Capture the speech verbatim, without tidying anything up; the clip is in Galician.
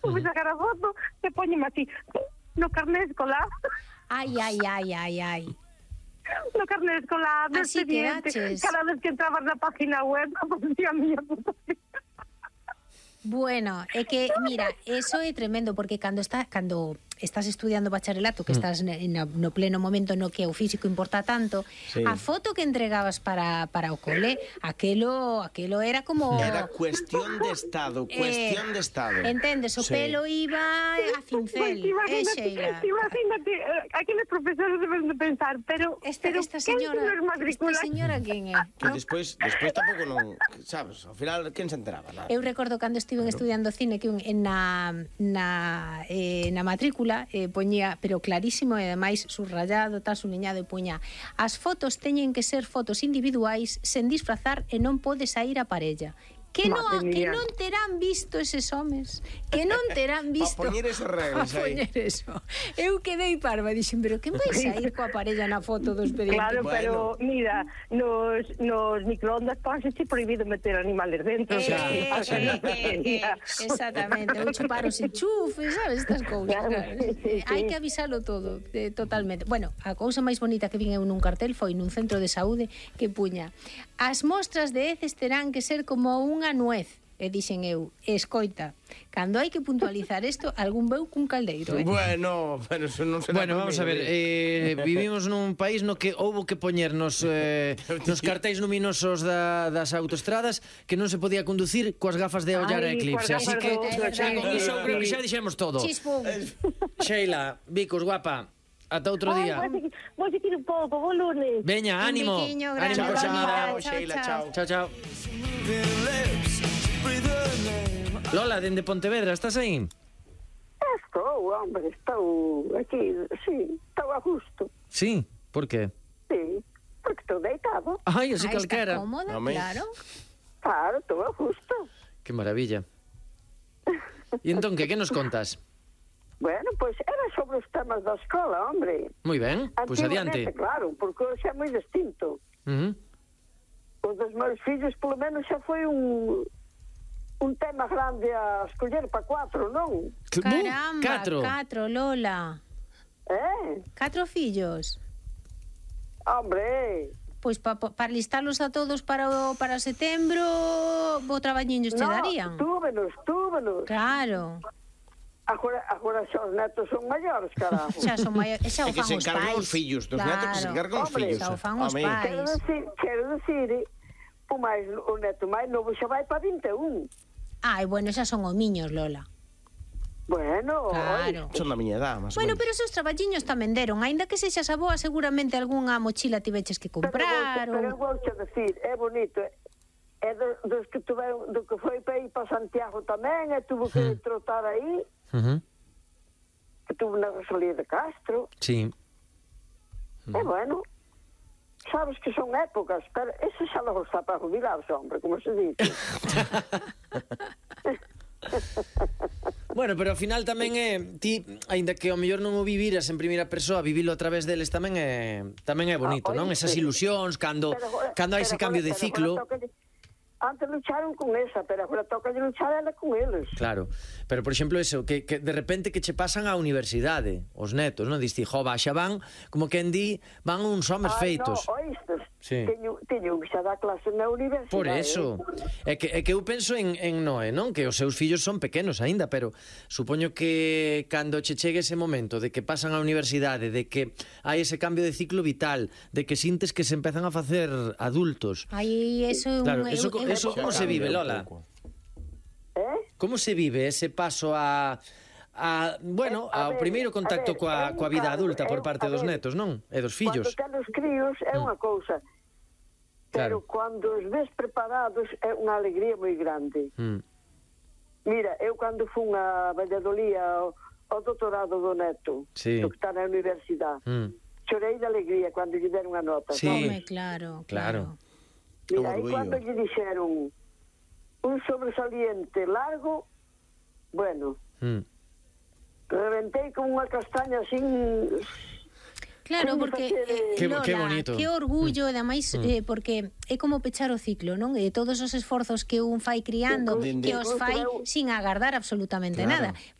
Fui sacar a foto e poñeme así no carné escolar. Ai, ai, ai, ai, ai. No carné escolar, no Así expediente. quedaches. Cada vez que entrabas na página web, aparecía a miña foto. Bueno, é que, mira, eso é tremendo, porque cando está, cando estás estudiando bacharelato, que estás ne, no, no pleno momento no que o físico importa tanto, Sí. a foto que entregabas para, para o cole, aquelo, aquelo era como... Era cuestión de estado, cuestión Eh, de estado. Entendes, o Sí. pelo iba a cincel, Pues eh, imagínate, Sheila. imagínate, eh, aqueles profesores deben de pensar, pero, Esta, pero esta quen señora, se nos matricula? esta señora quen é? Que No? despois, despois tampouco non, sabes, ao final quen se enteraba, nada. Eu recordo cando estiven estudiando cine que un, en na, na, eh, na matrícula eh, poñía, pero clarísimo e ademais subrayado, tal, suliñado, e poña: as fotos teñen que ser fotos individuais sen disfrazar e non pode sair a parella. Que non, Madre que mía. non terán visto eses homes, que non terán visto Pa poñer esas reglas pa aí. poñer eso. Eu quedei parva, dixen, pero quen vai sair coa parella na foto do expediente? Claro, Bueno. pero mira, nos, nos microondas ponse prohibido meter animales dentro. Eh, o sea, eh, o sea, no se eh, podía. eh, exactamente, ou chupar os enchufes, sabes, estas cousas. Claro, Claro. sí, sí, sí. Hai que avisalo todo, eh, totalmente. Bueno, a cousa máis bonita que vin eu nun cartel foi nun centro de saúde que puña: as mostras de heces terán que ser como unha nuez. E dixen eu, escoita, cando hai que puntualizar isto, algún veu cun caldeiro, eh? Bueno, pero eso non será Bueno, vamos a ver, eh, vivimos nun país no que houbo que poñernos eh, nos cartéis luminosos da, das autoestradas que non se podía conducir coas gafas de ollar Ai, a eclipse. coas Así gafas que, de ollar, xa, sí, con iso sí, creo que sí. xa dixemos todo. Chispum. Sheila, Vicos, guapa, ata outro Ai, día. vou seguir- vou seguir un pouco, bo lunes. Veña, Un ánimo. biquiño Ánimo grande. por Chao, xamada. chao, Sheila, chao. Chao, chao. Lola, dende Pontevedra, estás aí? Estou, hombre, estou aquí, sí, estou a gusto, Sí, por qué? sí, porque estou deitado, Ai, así Ah, calquera. está cómoda, Home. claro. claro, estou a gusto. Que maravilla. E entón, que, que nos contas? Bueno, pois era sobre os temas da escola, hombre. Moi ben, pois Antigamente, adiante. claro, porque hoxe é moi distinto. Uh -huh. Os dos meus fillos, polo menos, xa foi un un tema grande a escoller para cuatro, non? Caramba, catro. catro, Lola. Eh? Catro fillos. Hombre, Pois pa, pa, para listalos a todos para o, para setembro, bo traballiños che no, darían. túvenos, túvenos. Claro. Agora, agora xa os netos son maiores, carajo. Xa son maiores, xa o É que fan se os encargan pais. os fillos, dos netos que se encargan os Hombre, fillos. xa o fan os Home. pais. Quero decir, quero decir, o máis o neto máis novo xa vai para vinte e un. Ai, bueno, xa son homiños, Lola. Bueno, Claro. Son da miña edad, máis Bueno, ou menos. pero esos traballiños tamén deron, aínda que sexas a boa, seguramente algunha mochila tiveches que comprar. Pero, pero ou... vou che decir, é bonito. É do, dos que tuveron, do que foi para ir para Santiago tamén, e tuvo que trotar aí, Uh -huh. que tuvo na Rosalía de Castro. Sí. É bueno. Sabes que son épocas, pero ese xa logo está para jubilarse, hombre, como se dice. Bueno, pero ao final tamén é ti, aínda que ao mellor non o viviras en primeira persoa, vivilo a través deles tamén é tamén é bonito, Ah, non? oíste. Esas ilusións cando Pero agora- cando hai pero ese cambio agora- de pero ciclo. agora tócalle- Antes lucharon con esa, pero agora toca de luchar ela con eles. Claro, pero por exemplo eso, que, que de repente que che pasan á universidade, os netos, non? Diste, jo, xa van, como quen di, van uns homes Ai, feitos. no, oístes? Sí. Teño, teño que xa dá clase na universidade. Por eso, é que, é que eu penso en, en Noé, non? Que os seus fillos son pequenos aínda, pero supoño que cando che chegue ese momento de que pasan á universidade, de que hai ese cambio de ciclo vital, de que sintes que se empezan a facer adultos. Ai, eso é un... Claro, é eso, un- é un- eso como se vive, Lola? Eh? Como se vive ese paso a... a bueno, Eh, a ao ver, primeiro contacto a ver, coa, eu, coa vida claro, adulta por eu, parte a dos ver, netos, non? E dos fillos. Cando ten os críos é unha cousa, pero Claro. cando os ves preparados é unha alegría moi grande. Mm. Mira, eu cando fun a Valladolid ao, ao doutorado do neto, Sí. do que está na universidade, Mm. chorei de alegría cando lle deron a nota. Sí. Home, claro, Claro. claro. Mira, Un aí orgullo. cando lle dixeron un sobresaliente largo, bueno, Mm. reventei como unha castaña así. Claro, Como porque facer, eh, Que- Lola, que bonito. que orgullo, e ademais eh, porque é como pechar o ciclo, non? E todos os esforzos que un fai criando, Dende- que os fai eu- sin agardar absolutamente Claro. nada.